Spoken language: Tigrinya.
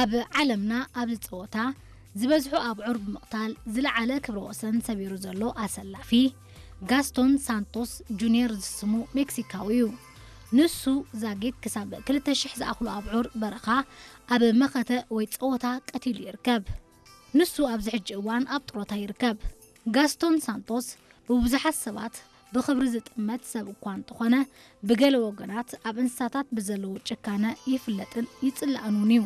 ኣብ ዓለምና ኣብዚ ጸወታ ዝበዝሑ ኣብዑር ብምቕታል ዝለዓለ ክብረ ወሰን ሰቢሩ ዘሎ ኣሰላፊ ጋስቶን ሳንቶስ ጁኒየር ዝስሙ ሜክሲካዊ እዩ። ንሱ ዛጊት ክሳብ ክልተ ሽሕ ዝኣኽሉ ኣብዑር በረኻ ኣብ መኸተ ወይ ጸወታ ቀቲሉ ይርከብ። ንሱ ኣብዚ ሕጂ እዋን ኣብ ጥሮታ ይርከብ። ጋስቶን ሳንቶስ ብብዙሓት ሰባት ብኽብሪ ዝጥመት ሰብ እኳ እንተኾነ፣ ብገለ ወገናት ኣብ እንስሳታት ብዘለዎ ጭካነ ይፍለጥን ይጽላእን እውን እዩ።